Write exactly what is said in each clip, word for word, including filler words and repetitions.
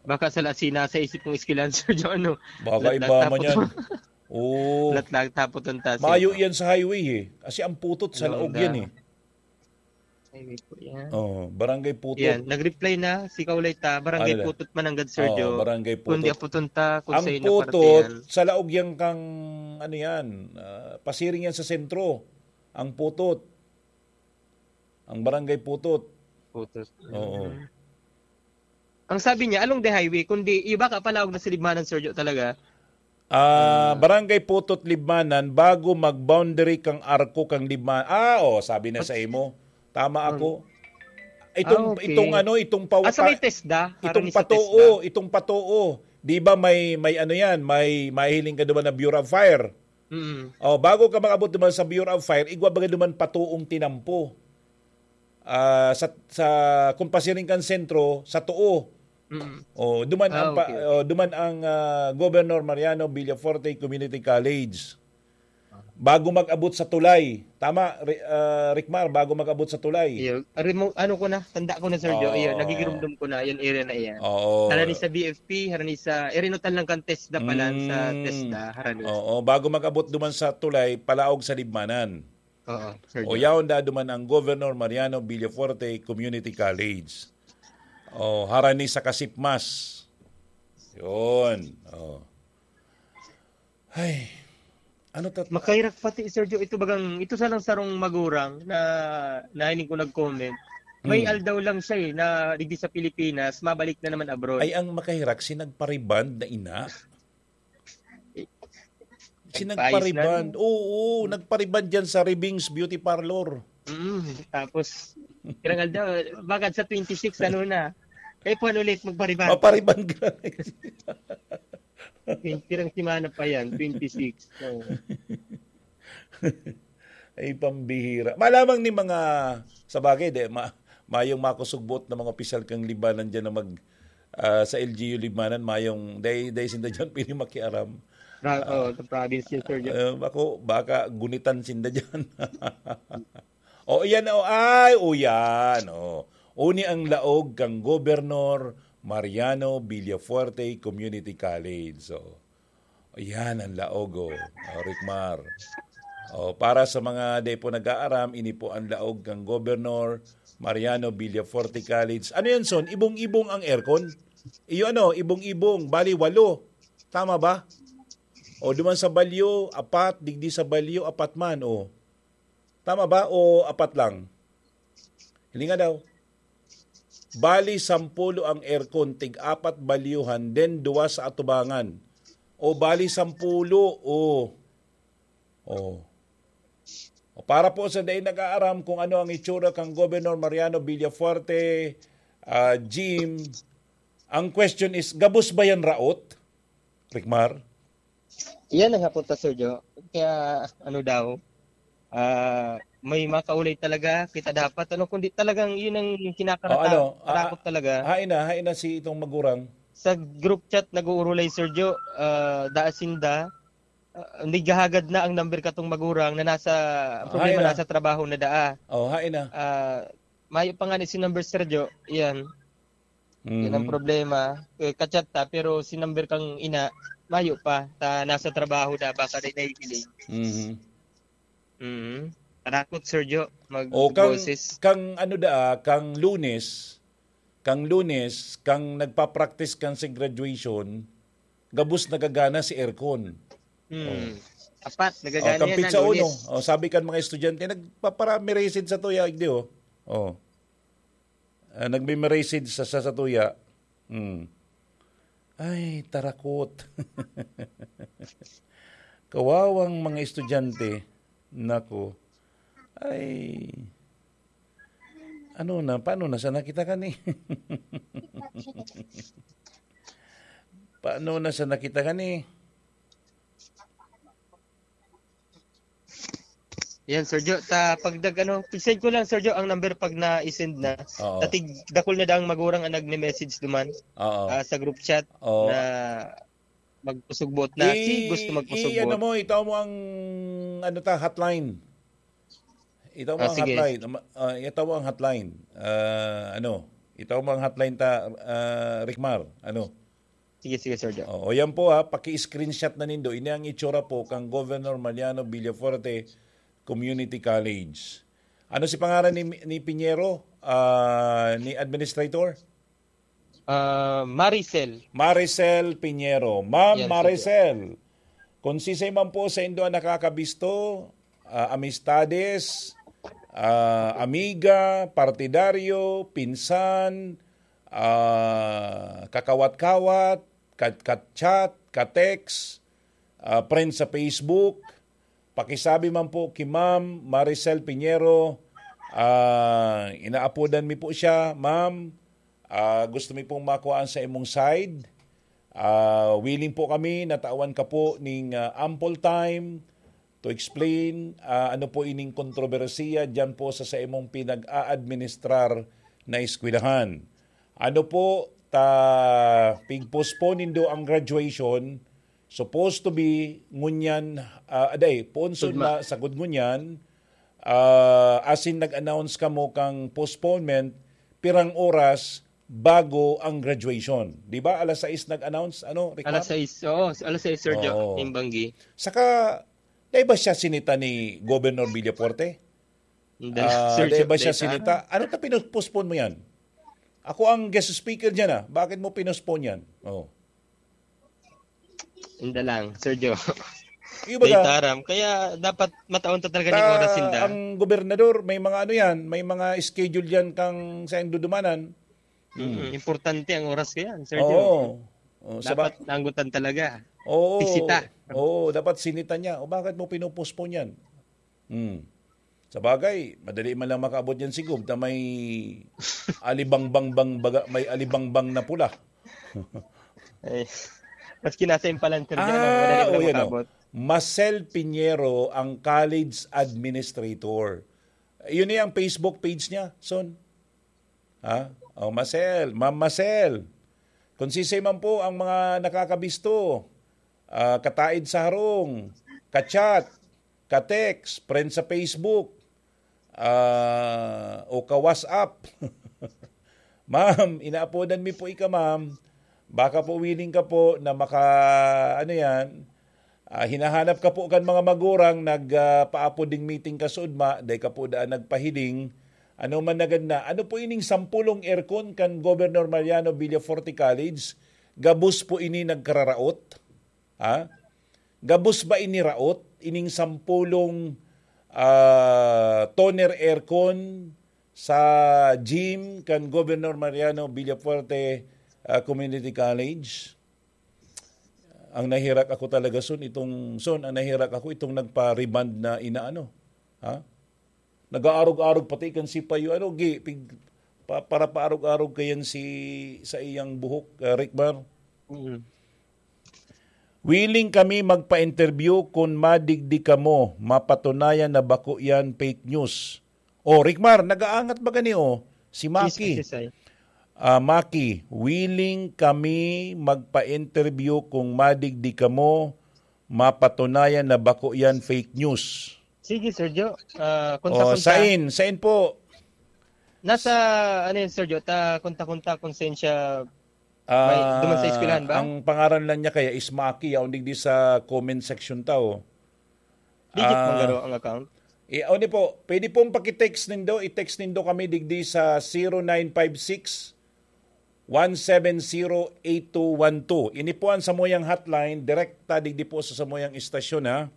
Baka sa Lasina, sa isip kong eskwelahan, Sir Joe, ano? Baka iba man yan. Oo. Latlag tapot ang taas, Mayo eh, no? Yan sa highway, eh. Kasi ang putot sa laog yan, eh. Highway po yan. Oh, Barangay Putot. Yan, nag-reply na si Kaulay ta, Barangay Ano na? Putot, Mananggad, Sir Oo, Joe. Barangay Putot. Kundi aputon ta, kung Ang sa ino Putot, partihan. Sa laog yan kang, ano yan, ah, pasiring yan sa sentro. Ang Putot. Ang Barangay Putot. Putot. Oo. Mm. Ang sabi niya, along the highway, kundi iba ka palaog na sa Libmanan, Sir Joe, talaga. Ah, Ah. Barangay Putot, Libmanan, bago mag-boundary kang Arco kang Libmanan. Ah, oh, sabi na sa imo. Tama Hmm. ako. Itong, Ah, okay. itong ano, itong pawa-, Ah, sa may TESDA? Itong Harani sa patoo, TESDA? Itong patoo. Di ba may, may ano yan, may mahiling ka naman na Bureau of Fire. Mm. Oh, bago ka makabot naman sa Bureau of Fire, igwa baga naman patoong tinampo. Ah, sa, sa, kung pasiring kang sentro, sa Too. Mm. Oh, duman Ah, ang pa-, okay, okay. oh, duman ang, ah, Governor Mariano Villafuerte Community College. Bago mag-abot sa tulay. Tama, Ri-, ah, Ricmar, bago mag-abot sa tulay. Iyo, ari mo, ano ko na, tanda ko na, Sir Joe. Iyo, Oo. nagigirumdum ko na, yung area na iyan. Oo. Harani sa B F P, harani sa, area no, talang kan TESDA pala, sa Mm. TESDA, harani. Oo, bago mag-abot duman sa tulay, palaog sa Libmanan. Oo, Sir O, Joe. yaon da duman ang Governor Mariano Villafuerte Community College. O, harani sa Kasipmas. Yun. O. Ay, ano tat- Makahirak pati, Sir Joe, ito bagang, ito sanang sarong magurang na nahiling ko nag-comment. May Hmm. aldaw lang siya eh, na digdi sa Pilipinas, mabalik na naman abroad. Ay, ang makahirak, si nagpa-rebond na ina? Si Nagpaayos na nagpa-rebond. rin. Oo, nagpa-rebond dyan sa Rebings Beauty Parlor. Mm, tapos, pirang aldaw, bakit sa twenty-six, ano na? Kaya po, ano ulit, magpa-rebond. Mapa-rebond ka na. Twenty, pirang semana pa yan, twenty-six. Oo. Ay, pambihira. Malamang ni mga, sa bagay, de, ma-, mayong makusog buot na mga opisyal kang Libmanan dyan na mag, ah, sa L G U Libmanan, mayong, dai, dai sinda dyan pwede makiaram. Ra-, Ah, oh, sa province yun, Sir Joe. ah, ako, baka gunitan sinda dyan. O, iyan, o, ay, o, yan, o. Uni ang laog kang Gobernador Mariano Villafuerte Community College. So, ayan ang laog, o. O, Ricmar. O, para sa mga di po nag-aaram, ini po ang laog kang Gobernador Mariano Villafuerte College. Ano yan, Son? Ibong-ibong ang aircon? Iyo ano, ibong-ibong, bali walo. Tama ba? O, duman sa balyo, apat, digdi sa balyo, apat man, o. Tama ba? O apat lang? Hilinga daw. Bali, sampulo ang aircon, tig-apat balyuhan, then duwa sa atubangan. O, bali, sampulo. O. O. O, para po sa dai nag-aaram kung ano ang itsura kang Governor Mariano Villafuerte, ah, Jim, ang question is, gabos ba yan raot, Ricmar? Iyan ang hapon ta, Sir Joe. Kaya, ano daw, ah, may makaulay talaga, kita dapat, ano, kundi talagang yun ang O, kinakaratak-, ano, ah, katakot talaga. hain na, hain na si itong magurang. Sa group chat, nag-uurulay, Sir Joe, ah, daa sinda, ah, naghahagad na ang number katong magurang na nasa, ang problema, Hain na. nasa trabaho na daa. O, hain na. Ah, mayo pa nga ni si number, Sir Joe, iyan. Yan ang Mhm. problema. Eh, kachat ta, pero si number kang ina, mayo pa. Ta, nasa trabaho na, baka di nahihiling. Mhm. Mhm. Tarakot, Sir Joe, O, kang, magboses. kang ano da, kang Lunes, kang Lunes, kang nagpa-practice kang sa graduation, gabos nagagana si aircon. Hmm. O. Apat, O, nagagana kang yan, Pizza ah, Uno. Lunes. O, sabi kan mga estudyante, nagpaparami rasid sa tuya, igdi, o. O. Ah, nagme-message sa, sa, sa tuya. Hmm. Ay, tarakot. Kawawang mga estudyante. Nako. Ay. Ano na? Paano na sana kita kani? Paano na sana kita kani? Yan, Sir Joe. Ta, pag nag-, ano, send ko lang, Sir Joe, ang number pag na-send na. Oo. Tatig dakul na daang magurang ang nagme-message duman, Oo. ah, sa group chat Oo. na magpasugbot na. Si I-, gusto magpasugbot. i-, ano mo, itaw mo ang, ano ta, hotline. Itaw mo Ah, ang sige. hotline. Ama-, ah, itaw mo ang hotline. Ah, ano, Itaw mga hotline ta, ah, Ricmar. Ano? Sige, sige, Sir Joe. Oo, yan po ha, paki-screenshot na nindo. Ini ang itsura po kang Governor Mariano Villafuerte Community College. Ano si pangaran ni, ni Pinheiro? Ah, ni Administrator? Ah, Maricel. Maricel Pinheiro. Ma'am Yes, Maricel, kung sisay man po sa indo ang nakakabisto, ah, amistades, ah, amiga, partidaryo, pinsan, ah, kakawat-kawat, kat-, kat-chat, ka-text, ah, friend sa Facebook, pakisabi man po ki Ma'am Maricel Pinheiro. Ah, inaapodan mi po siya, Ma'am. Ah, gusto mi pong makuhaan sa imong side. Ah, willing po kami, natawan ka po ning, ah, ample time to explain, ah, ano po ining kontrobersiya diyan po sa, sa imong pinag-aadministrar na eskwelahan. Ano po, ta pigpostpone nindo ang graduation, supposed to be ngunyan, ah, aday, poon Sagud ma. Sagud ngunyan, ah, asin nag-announce kamo kang postponement, pirang oras bago ang graduation. Di ba? Alas sais nag-announce, ano, Ricardo? Alas sais, oo, alas sais, Sir Joe, Oo. Nimbanggi. Saka, dahil ba siya sinita ni Governor Villafuerte? Hindi, Ah, Sir dahil Joe, ba siya dahil sinita? Ano ta pinupostpone mo yan? Ako ang guest speaker dyan ah. Bakit mo pinostpone yan? Oh. Inda lang, Sir Joe. Yung Dahil baga, taram. Kaya dapat mataon ta talaga ng ta, oras, inda. Ang gobernador, may mga ano yan, may mga schedule yan kang sa dudumanan. Mm, importante ang oras ko yan, Sir Joe. Oo. Oh, sa ba- Dapat naanggutan talaga. Oo. Bisita. Oo, dapat sinita niya. O bakit mo pinupostpone yan? Hmm. Sa bagay, madali man lang makaabot yan si Gob na may alibangbang bang baga, may alibangbang na pula. Eh, maski nasa Impalan, Sir Joe, Ah, madali lang o yan, oh. makaabot. Marcel Pinheiro ang college administrator. Yun na yung Facebook page niya, Son. Ha? Oh, Marcel, Ma'am Marcel. Kung sisay man po ang mga nakakabisto, ah, kataid sa harong, ka-chat, ka-text, friend sa Facebook, ah, o ka-WhatsApp. Ma'am, inaapodan mi po ika, ma'am. Baka po willing ka po na maka, ano yan, ah, hinahanap ka po kan mga magurang nag, ah, paapod ding meeting ka sa ugma, dai ka po daan nagpahiling. Ano man nagad na, ano po ining sampulong aircon kan Governor Mariano Villafuerte College? Gabos po ini nagkararaot? Ha? Gabos ba ini raot? Ining sampulong, ah, toner aircon sa gym kan Governor Mariano Villafuerte, ah, Community College? Ang nahirak ako talaga, Son, itong, Son, ang nahirak ako itong nagpa-rebond na inaano. Ha? Nag-aarog-arog pati kan si Payo. Ano, gi, pig, pa, para paarog-arog kayan si, sa iyang buhok, ah, Rickmar? Mm. Willing kami magpa-interview kun madigdi kamo, mapatunayan na bako yan fake news. O, Rickmar, nag-aangat ba gani, o? Si Maki. Yes, yes, yes, sir. Ah, Maki, willing kami magpa-interview kung madigdi kamo, mapatunayan na bako yan fake news. Sige, Sir Joe. Ah, O, kontak-kontak. Sain? Sain po? Nasa, ano yun, Sir Joe? Ta, kontak-kontak kung saan siya may Ah, duman sa eskwelahan ba? Ang pangaran lang niya kaya is Maki, yaon digdi sa comment section ta, o. Digit Ah, man garo ang account? I, ano po, pwede pong paki-text nindo, i-text nindo kami digdi sa zero nine five six, one seven zero, eight two one two. Ini po ang samuyang hotline, direkta digdi po sa samuyang istasyon, ha.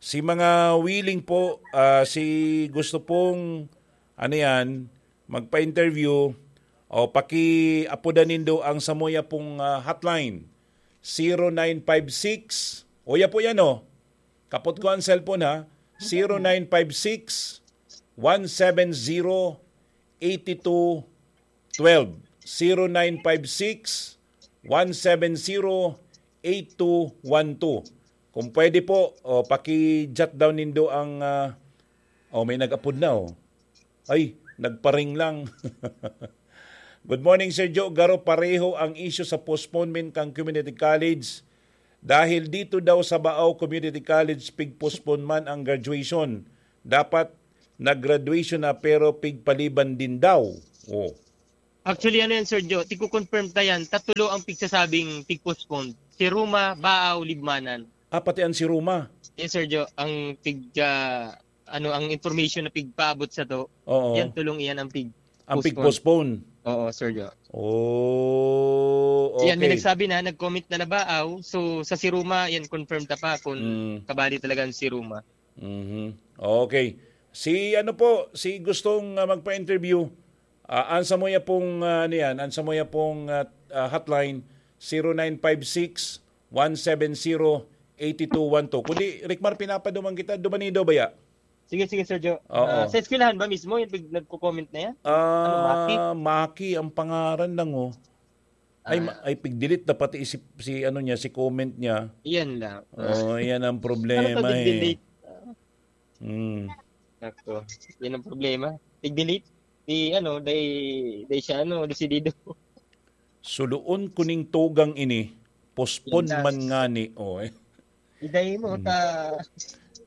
Si mga willing po, ah, si gusto pong, ano yan, magpa-interview, o paki-apodan nindo ang samuya pong, ah, hotline, zero nine five six, o ya po yan, o. Kapot ko ang cellphone, ha, zero nine five six, one seven zero, eight two twelve, zero nine five six, one seven zero, eight two one two. Kung pwede po, o, paki-jot down nindo ang, ah, o, may nag-apod na, o. Ay, nagparing lang. Good morning, Sir Joe. Garo pareho ang issue sa postponement kan community college. Dahil dito daw sa Baao Community College, pig-postpone man ang graduation. Dapat nag-graduation na pero pigpaliban din daw. Oh. Actually, ano yan, Sir Joe? Tigko-confirm ta yan. Tatulo ang pigsasabing tig-postpone. Si Ruma, Baaw, Libmanan. Ah, pati ang si Ruma. Yes, Sir Joe. Ang pig, ah, ano, ang information na pigpaabot sa to, Oo. yan, tulong iyan ang pig Ang pig-postpone. Oo, Sir Joe. Oh, Yan, may okay. nagsabi na, nag-comment na na Baaw. So, sa si Ruma, yan, confirm ta pa kung Mm. kabali talaga ang si Ruma. Mhm. Okay. Si ano po, si gustong, ah, magpa-interview, ah, ang samuya pong, ah, ano yan, ang samuya pong, ah, ah, hotline, zero nine five six, one seven zero, eight two one two. Kundi, Rickmar, pinapaduman kita, dumani daw baya? Sige, sige, Sir Joe. Oo. Ah, sa eskwelahan ba mismo yung pig-, nagko-comment na yan? Ano, Maki? Ah, Maki ang pangaran lang, oh. Ay, Ah. ma-, ay, pig-delete na pati si, si ano niya, si comment niya. Yan lang. Oh, yan ang Ano problema, to, eh. delete? Mm. Nako, yan ang problema. Pig-delete. Di, ano, di, di siya, ano, desidido. Suloon ko ning tugang ini, postpone Yan lang. man ngani, oh, eh. Iday mo Hmm. ta,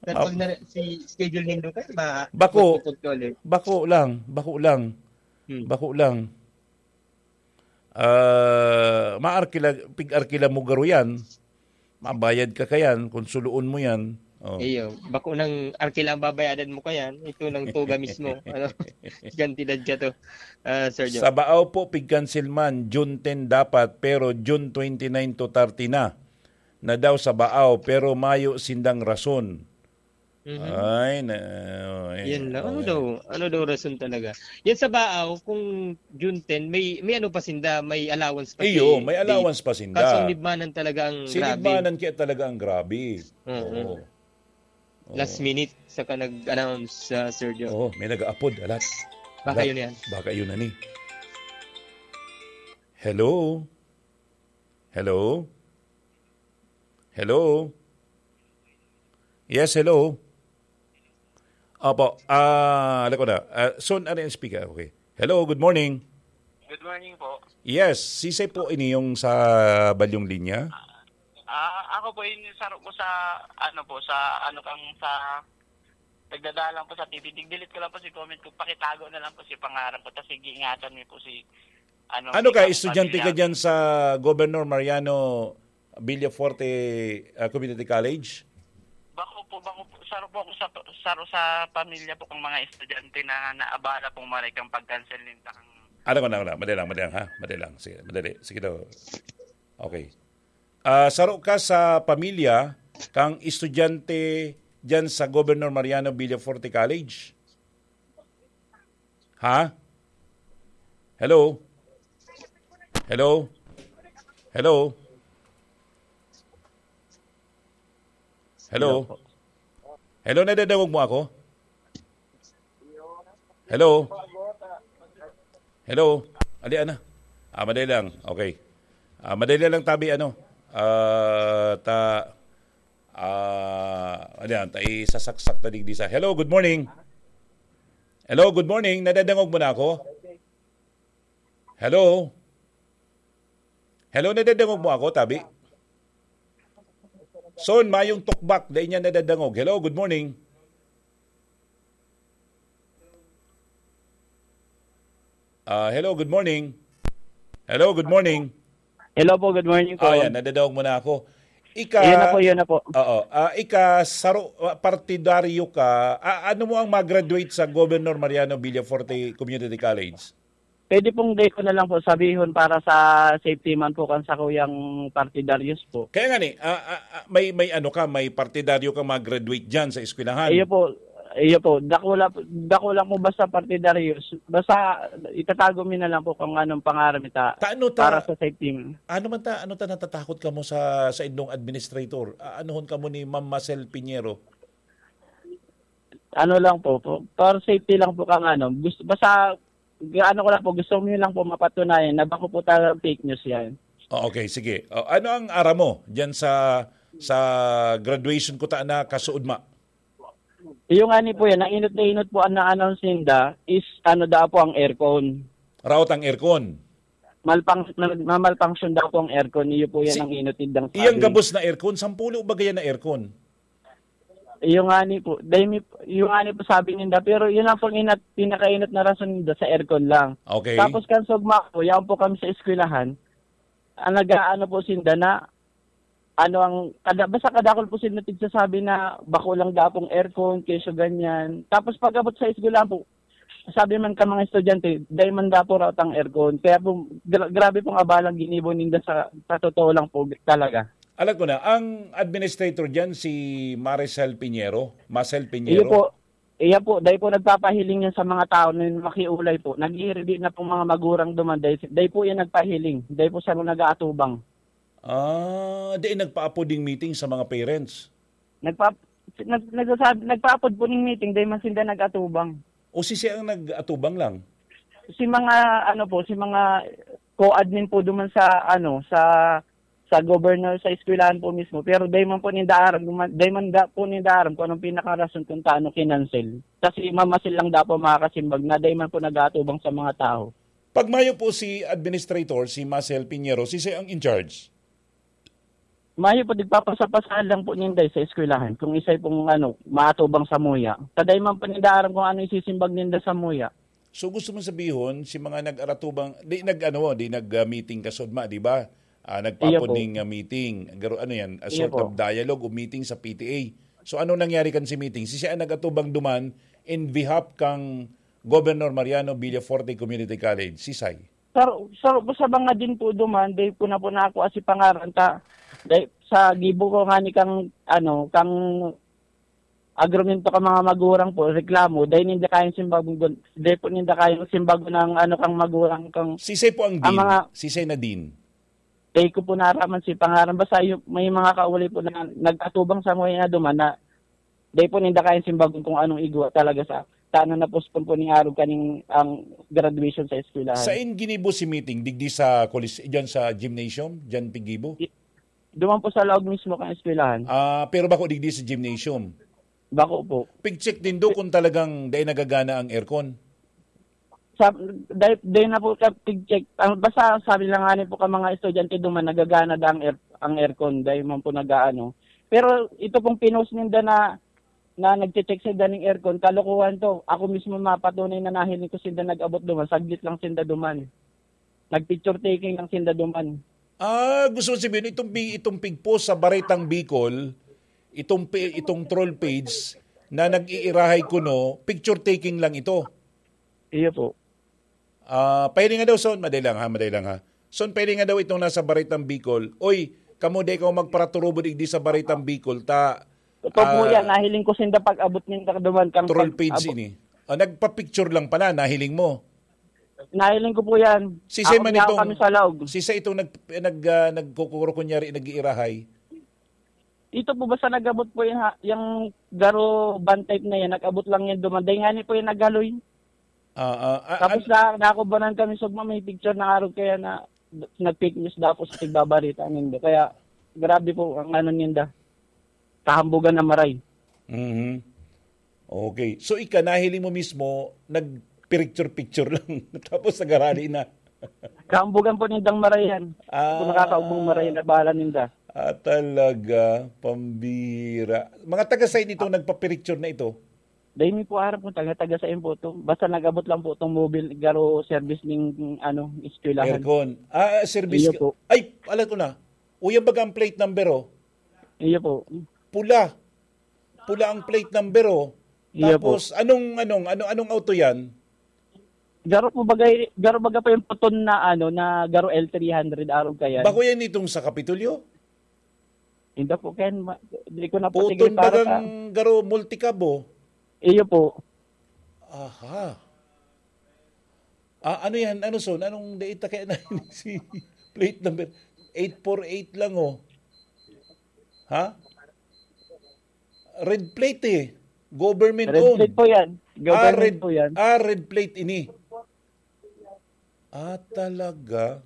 ta Ah. pag na, si schedule nindo kayo, ma-, Bako. magtutugtol eh. Bako lang, bako lang. Hmm. Bako lang. Ah, maarkila, pig-arkila mo garo yan. Mabayad ka kayan kung suloon mo yan. Oh. Iyo, bako nang arkila ang babayadan mo kayan, ito nang tuga mismo. Ano? Gantidad ka to, ah, Sir Joe. Sa Baaw po, pig-cancel man, June ten dapat, pero June twenty-nine to thirty na. Na daw sa Baaw, pero mayo sindang rason. Mhm. Ay, na, ay, Yan lang. Ano okay. daw? Ano daw rason talaga? Yan sa Baaw, kung June ten, may, may ano pa sinda, may allowance pa Iyo, si, may si, allowance pa sinda. kaso ang Libmanan talaga ang Si grabe. Libmanan kaya talaga ang grabe. Oo. Oo. Oo. Last minute, saka nag-announce, ah, Sir Joe. Oo, may nag-aapod, alat. Baka Alat. yun yan. Baka yun na ni. Hello? Hello? Hello? Yes, hello? Opo, ah, alam ko na. Ah, Son, ano yung speaker? Okay. Hello, good morning. Good morning po. Yes, sisay po ini yung sa balyong linya? Ah, ako po yung saro po sa, ano po, sa, ano kang, sa, nagdadalang po sa T V. Tig-delete ko lang po si comment ko. Pakitago na lang po si pangaran ko. Tas sige, ingatan niyo po si, ano, Ano si ka, Kang estudyante ka Pamilya. dyan sa Governor Mariano Villafuerte, ah, Community College? Bako po, bako po. Saro po ako sa, saro sa pamilya po kang mga estudyante na naabala pong maray kang pag-cancel ninda kang Ano ko na, na, madali lang, madali lang, ha? Madali lang. Sige, madali. Sige daw. Okay. Ah, saro ka sa pamilya kang estudyante dyan sa Governor Mariano Villafuerte College? Ha? Hello? Hello? Hello? Hello? Hello po. Hello, nadadangog mo ako? Hello? Hello? Ali, ana? Ah, madali lang. Okay. Ah, madali lang, tabi, ano? Ah, ta, ah, ano yan? Ta, isasaksak ta digdi sa, hello, good morning. Hello, good morning. Nadadangog mo na ako? Hello? Hello, nadadangog mo ako, tabi? Son, mayong tukbak, dai niya nadadangog. Hello, good morning. Ah, hello, good morning. Hello, good morning. Hello po, good morning po. Ah, yan, nadadangog mo na ako. Ika, Yun na po, yun na po. Oo. Ah, ika, saro, ah, partidaryo ka. Ah, ano mo ang mag-graduate sa Governor Mariano Villafuerte Community College? Pwede pong di ko na lang po sabihon para sa safety man po kan sakuyang partidaryos po. Kaya nga ni, ah, ah, ah, may, may ano ka, may partidaryo ka mag-graduate dyan sa eskwelahan. Iyo po, iyo po. Dako la-, dako lang po basta partidaryos. Basta itatago mi na lang po kung anong pangaran mi ta Ta-, ano ta-, para sa safety man. Ano man ta, ano ta natatakot ka mo sa, sa indong administrator? Aanuhon ka mo ni Ma'am Marcel Piñero? Ano lang po, po, for safety lang po kang ano. Gusto, basta, ano ko lang po, gusto ko yun lang po mapatunayan na bako po talagang fake news yan. Oh, okay, sige. Oh, ano ang aram mo dyan sa, sa graduation ko ta na kasuodma? Yung ani po yan, ang inot na inot po ang na-announce ninda is ano daw po ang aircon. Raot ang aircon? Malpang-, mal-, mamalfunction daw po ang aircon, iyo po yan Si-, ang inot nindang iyang sabi. gabos na aircon, sampulo ba gaya na aircon? Iyo ngani po, dai mi, iyo ngani po sabi ninda, pero yun lang pong inat-, pinakainat na rason ninda sa aircon lang. Okay. Tapos kan sugma po, yaon po kami sa eskwelahan, ang nag-aano po sinda na, ano ang, kada, basta kadakol po sinda tigsasabi na bako lang daw pong aircon, kesyo ganyan. Tapos pag-abot sa eskwelahan po, sabi man ka mga estudyante, dai man daw po raot ang aircon. Kaya po, gra-, grabe pong abalang ginibo ninda sa, sa totoo lang po talaga. Alam ko na, ang administrator diyan si Maricel Pinheiro, Marcel Pinheiro. Iyo po. Iya po, dai po nagpapahiling yan sa mga tao na makiulay po. Nag-iiridi na pong mga magurang duman. Dai, dai po yan nagpahiling. Dai po siya nag-aatubang. Ah, di nagpaapod ning meeting sa mga parents? Nagpa-, nag-, nagsasabi, nagpaapod po ning meeting, dai man sinda nag-atubang. O si siya ang nag-atubang lang? Si mga, ano po, si mga co-admin po duman sa, ano, sa, sa governor, sa eskwelahan po mismo. Pero dai man po ninda aram, dai man da po ninda aram kung anong pinakarason kung taano kinansel. Kasi mamasil lang daw po makakasimbag na dai man po nag-aatubang sa mga tao. Pag mayo po si administrator, si Marcel Pinheiro, si siya ang in charge? Mayo po, nagpapasa-pasahan lang po ninda sa eskwelahan kung isay pong, ano, maatubang sa muya. Sa dai man po ninda aram kung ano isisimbag ninda sa muya. So, gusto mong sabihon, si mga nag-aratubang, di nag-, ano, di nag-, ah, meeting ka sugma, di ba? Ah, nagpaapod Iyo po. ning, ah, meeting. Garo-, ano yan? A Iyo sort po. of dialogue o meeting sa P T A. So, ano nangyari kan si meeting? Si siya ang nag-atubang duman in behalf kang Governor Mariano Villafuerte Community College. Si Sai. Sir, sir, sa mga din po duman, dai po na po na ako asi pangaran ta. Dai, sa gibo ko nga ni kang, ano, kang agrumento ka mga magurang po, reklamo, dai ninda kayang simbagon, dai po ninda kayang simbagon ng, ano, kang magurang, kang Sisay po ang ang dean? mga Sisay na dean? Dai ko po naraman si pangaran. Basta yung, may mga kaulay po na nag-atubang sa mga duman na dai po ninda kayang simbagon kung anong igwa talaga sa, sa ano na postpone po ning arog kaning ang graduation sa eskwelahan. Sain ginibo si meeting? Digdi sa kolis-, dyan sa gymnasium? Dyan piggibo? I-, duman po sa laog mismo kan eskwelahan. Ah, pero bako digdi sa gymnasium? Bako po. Pig-check din do kung talagang dai nagagana ang aircon? Sa, dai, dai na po ka pig-check. Ang, basta sabi lang nga ni po ka mga estudyante duman, nagagana da ang air-, ang aircon, dai man po nag-aano. Pero ito pong pinost ninda na, na nagche-check sinda ning aircon, kalokohan to. Ako mismo mapatunay na nahiling ko sinda nag-abot duman, saglit lang sinda duman. Nag-picture taking lang sinda duman. Ah, gusto ko sabihin, itong pi-, itong pigpost sa Baretang Bicol, itong pi-, itong troll page na nag-iirahay kuno, picture taking lang ito. Iyo po. Ah, pahiling nga daw, Son, madali lang ha, madali lang ha. Son, pahiling nga daw itong nasa Baretang Bicol. Oy, kamo, di kaw magparaturubod igdi sa Baretang Bicol, ta, Totoo po ah, yan. Nahiling ko sinda pag-abot ninda duman, kang troll page pag-abot. ini. Ah, nagpa-picture lang pala, nahiling mo? Nahiling ko po yan. Sisay Ako man niya itong, kami sa laog. sisay itong nag-, nag-, ah, nagkukuro kunyari, nag-iirahay? Ito po, basta nag-abot po yung ha-, yung garo van type na yan, nag-abot lang yan duman. Dahil nga ni po yung naghaloy. Ah, ah, ah, Tapos an- na, nakubanan kami sugma, may picture na arog kaya na nag-fake news daw po sa tigbabarita nindo. Kaya grabe po ang ano ninda. Kahambugan na maray. Mhm. Okay. So, ika, nahiling mo mismo, nagpicture-picture lang. Tapos nagarali na. Kahambugan po nindang marayan. Ah. Kung nakakaugmong marayan na bahala ninda. Ah, talaga. Pambira. Mga taga-side nitong nagpapicture na ito? Dahil mi po aram kung taga-taga sa po to. Basta nag-abot lang po tong mobile, garo service ning, ano, eskwelahan. Aircon. Ah, service Iyo ka-, po. Ay, alam ko na. Uyan baga ang plate number, oh. Iyo po. Pula. Pula ang plate number, oh. Iyo po. Tapos, anong, anong, ano, anong auto yan? Garo po bagay, garo baga pa yung puton na, ano, na garo L three hundred arog kayan. Bako yan itong sa Kapitolyo? Hindi po, Ken. Ma-, di ko na po Puton sige para bagang sa garo multicab, oh. Iyo po. Aha. Ah, ano yan? Ano, Son? Anong data kaya na si plate number? Eight four eight lang, oh. Ha? Red plate, eh. Government Red owned. plate po yan. Ah, Government red, po yan. ah, red plate ini. Ah, talaga?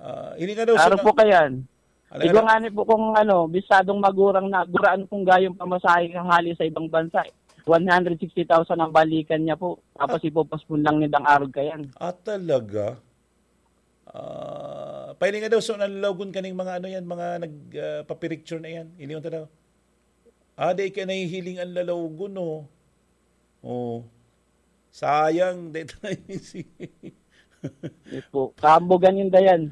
Ah, ini nga daw, Araw Son, po kayan. Ano, Igwa ano? nga ni po kung ano, bisadong magurang na, guraan kung gayong pamasahe hali sa ibang bansa. One hundred sixty thousand ang balikan niya po. Tapos Ah. ipopospon lang nindang arog kayan. Ah, talaga? Ah, pahiling nga daw, Son, ang lawgon kaning mga ano yan, mga nag, ah, papiricture na yan. Iliyon ta daw. Ah, di ka nahihiling ang lalawgon, no? Oh. Sayang, di tayo si... Yes po. Kaambogan yung dayan.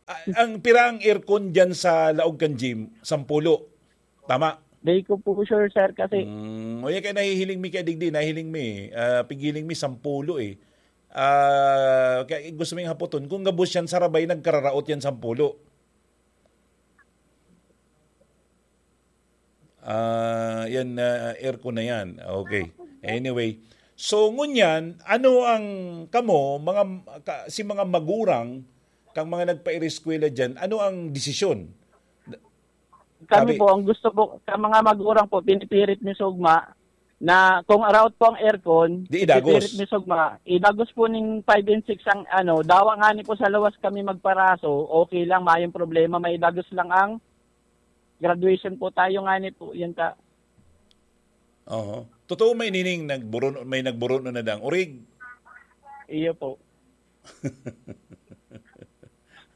Ah, ang pira ang aircon dyan sa laog kan gym? Sampulo. Tama? Di ko po sure, sir, kasi Mm, o yan kaya nahihiling mi kaya digdi, nahihiling mi. Ah, pigiling mi sampulo eh. Ah, kaya gusto ming hapoton, kung gabos yan sa rabay, nagkararaot yan sampulo. Ah, yan, ah, aircon na yan. Okay. Anyway. So, ngunyan, ano ang kamo, mga, ka, si mga magurang, kang mga nagpaireskwela dyan, ano ang desisyon? kami Sabi- po, ang gusto po, sa mga magurang po, pinipirit ni Sugma, na kung araot po ang aircon, Di idagos. Pinipirit ni Sugma, idagos po ning five and six ang ano, dawa nga ni po sa lawas kami magparaso, okay lang, mayong problema, may idagos lang ang graduation po tayo nga ni po, yan ka. Oho. Totoo may nining nagburon, may nagburon na dang urig. Iyo po.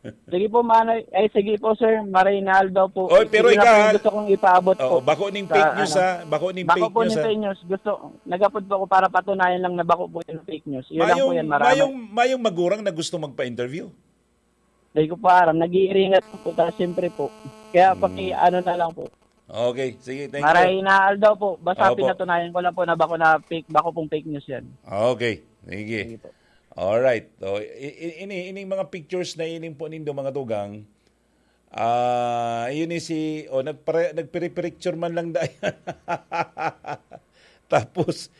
Sige po, Manay. Ay, sige po, sir. Maray na aldaw po. Oy, pero Sige lang ikaw, po yung ha? gusto kong ipaabot Oo, po. bako ning Sa, fake news, ano, ha? Bako ning bako fake po news, ning ha? Fake news. Gusto, nagapod po ako para patunayan lang na bako po yung fake news. Yun lang po Mayong, yan. Marami. mayong, mayong magurang na gusto magpa-interview. Hindi ko po aram. Nag-iiringat po ta, siyempre po. Kaya Hmm. paki ano na lang po. Okay, sige, thank Maray you. na aldaw po. Basta Opo. pinatunayan ko lang po na bako na fake, bako pong fake news yan. Okay, sige. Sige po. Alright. So, i- i- ini, ining mga pictures na ining po nindo, mga tugang, ah, yun ni si, oh, nagpare, nagpiripiricture man lang dayan. Tapos,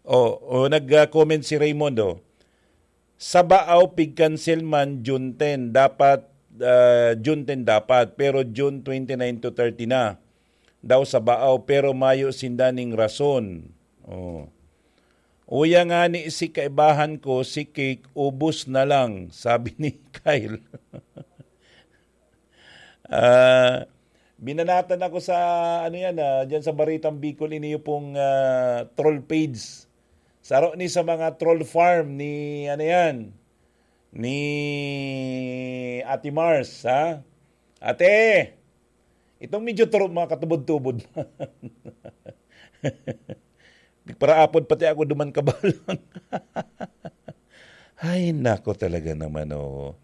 oh, oh, nag-comment si Raymond, oh. Sa Baaw, pig-cancel man June ten, dapat, ah, June ten dapat, pero June twenty-nine to thirty na. Daw sa Baaw, pero mayo sinda ning rason. Oh. Uya nga ni si kaibahan ko, si Cake, ubos na lang, sabi ni Kyle. Ah, binanatan ako sa, ano yan, ah, dyan sa Baritang Bicol, ini yung pong, ah, troll page. Saro ni sa mga troll farm ni, ano yan, ni Ate Mars, ha? Ate, itong medyo turo, mga katubod-tubod. Nagparaapod pati ako duman kabalang. Ay, nako talaga naman, oh.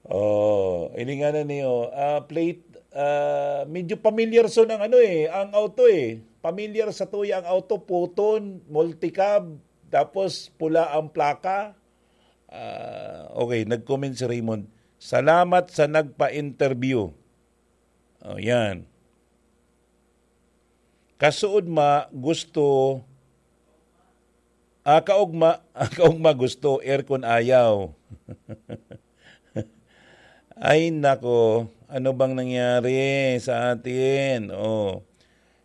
Oh, ilinganan niyo, ah, plate, ah, medyo pamilyar so ng ano eh, ang auto eh. Pamilyar sa tuya ang auto, puton, multicab, tapos pula ang plaka. Ah, okay, nag-comment si Raymond, "Salamat sa nagpa-interview." Oh, yan. Kasuod ma gusto, ah, kaugma, kaugma gusto, aircon ayaw. Ay, nako, ano bang nangyari sa atin? Oh.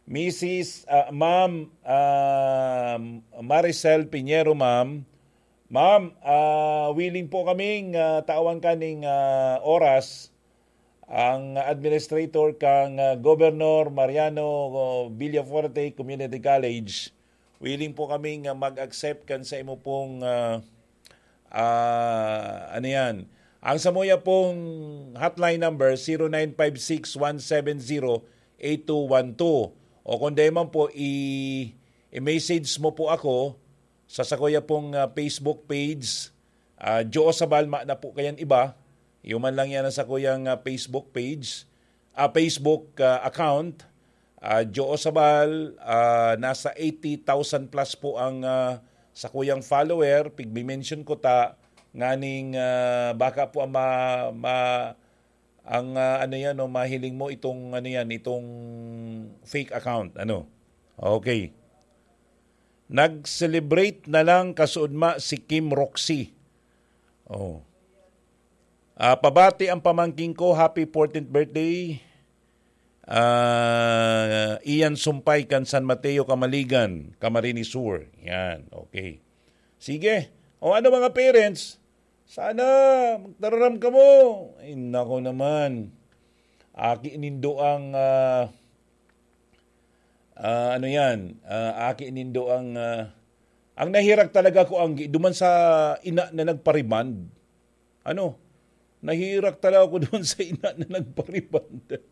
Missus, ah, Ma'am, ah, Maricel Piñero, ma'am. Ma'am, ah, willing po kaming, ah, tawan kaning, ah, oras ang administrator kang, ah, Governor Mariano Villafuerte Community College. Willing po kaming, ah, mag-accept kan sa imo pong, ah, ah, ano yan. Ang samuya pong hotline number, zero nine five six one seven zero eight two one two. O kung di man po, i- i-message mo po ako sa sakuya pong, ah, Facebook page. Ah, Joe Sabal, ma na po kayan iba. Yuman lang yan ang sakuyang, ah, Facebook page, ah, Facebook, ah, account. Ah, Joe Sabal, ah, nasa eighty thousand plus po ang, ah, sakuyang follower. Pigmi-mention ko ta, nganing, ah, baka po ang ma-, ma-, ang, ah, ano yan, no, mahiling mo itong, ano yan, itong fake account. Ano? Okay. Nag-celebrate na lang kasuodma si Kim Roxy. Oh. Ah, pabati ang pamangking ko, happy fourteenth birthday. Ah, Ian Sumpay kan San Mateo, Camaligan, Camarines Sur. Yan, okay. Sige. O ano, mga parents? Sana magtararam kamo. Ay, nako naman. Aki nindo ang, ah, ah, ano yan? Ah, aki nindo ang, ah, ang nahirag talaga ko, ang duman sa ina na nagpa-remand. Ano? Nahirak talaga ako doon sa ina na nagpa-rebond.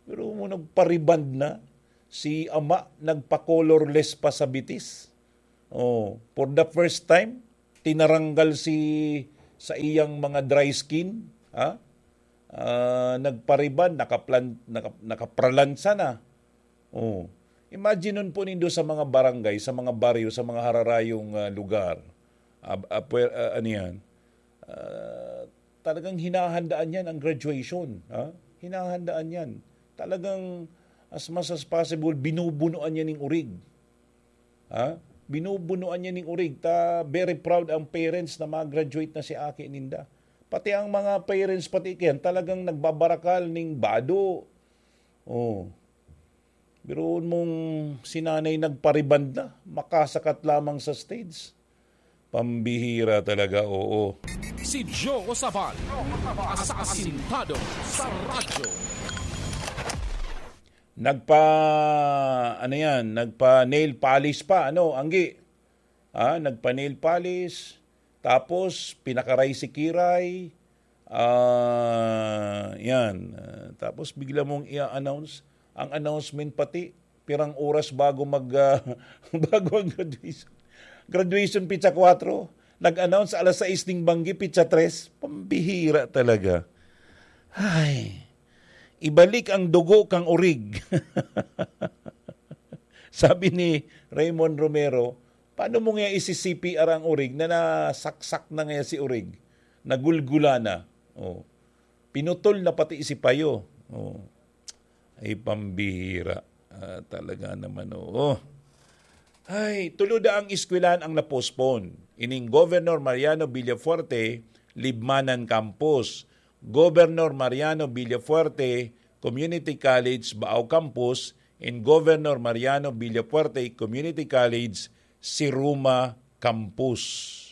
Pero mo nagpa-rebond na, si ama nagpa-colorless pa sa bitis. Oh, for the first time, tinaranggal si sa iyang mga dry skin, ha? Ah, nagpa-rebond, nakaplan-, naka-, nakapralansa na. Oh. Imagine nun po nindo sa mga barangay, sa mga baryo, sa mga hararayong, ah, lugar. Ab-, ah, pwe-, ah, ano yan? Ah, talagang hinahandaan yan ang graduation. Ha? Hinahandaan yan. Talagang as much as possible, binubunuan yan ng urig. Ha? Binubunuan niya ning urig. Ta very proud ang parents na ma-graduate na si aki ninda. Pati ang mga parents, pati iyan, talagang nagbabarakal ning bado. Oh. Biruon mong si nanay nagpa-rebond na, makasakat lamang sa stage. Pambihira talaga, oo. Si Joe Sabal, asasintado sa radyo. Nagpa, ano yan, nagpa nail polish pa, ano, Anggi? Ah, nagpa nail polish, tapos pinakaray si Kiray, ah, yan. Ah, tapos bigla mong i-announce, ang announcement pati, pirang oras bago mag, ah, bago ang graduation. Graduation, pitsa kwatro, nag-announce alas sais ning banggi, pitsa tres. Pambihira talaga. Ay, ibalik ang dugo kang urig. Sabi ni Raymond Romero, "Paano mo nga isi-C P R ang urig na nasaksak na nga si urig? Nagulgula na." Oh. Pinutol na pati si payo. Oh. Ay, pambihira. Ah, talaga naman, oo. Ay, tulo daang eskwelahan ang na-postpone. Ining Governor Mariano Villafuerte, Libmanan Campus. Governor Mariano Villafuerte Community College, Baao Campus, and Governor Mariano Villafuerte Community College, Siruma Campus.